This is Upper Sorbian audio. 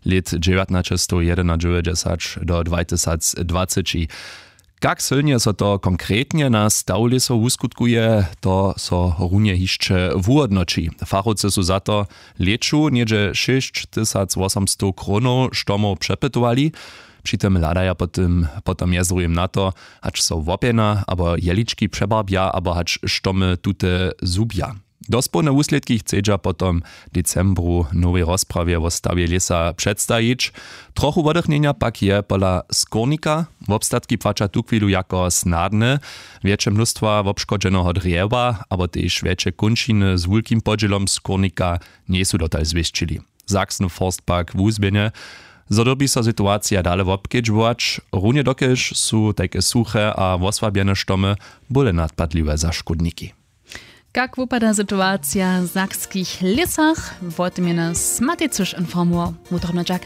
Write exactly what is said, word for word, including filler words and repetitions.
lět dźewjatnaćestowjedynadźewjećdźesać do dwajtysacdwaceći. Kak sylnje so to konkretnje na staw lěsow wuskutkuje, to so runje hišće wuhódnoći. Fachowcy su za to lěću něhdźe šěsćtysacwosomstow krónow štomow přepytowali. Při tym hladaja potom mjez druhim na to, hač so łopjena abo jelički přebarbja abo hač štomy tute zhubja. Dospołne wuslědki chcedźa potom w decembru w nowej rozprawje wo stawje lěsa předstajić. Trochu wodychnjenja pak je pola skórnika. Wobstatki płaća tuchwilu jako snadne. Wjetše mnóstwa wobškodźeneho drjewa abo tež wjetše kónčiny z wulkim podźělom skórnika njejsu dotal zwěsćili. Sachsen forst pak wuzběhnje, zo dyrbi so situacija dale wobkedźbować, runje dokelž su tajke suche a wosłabjene štomy bóle nadpadliwe za škódniki. Kak wupada situacija w sakskich lěsach? Wo tym je nas Matej Cyš informował. Wutrobny dźak.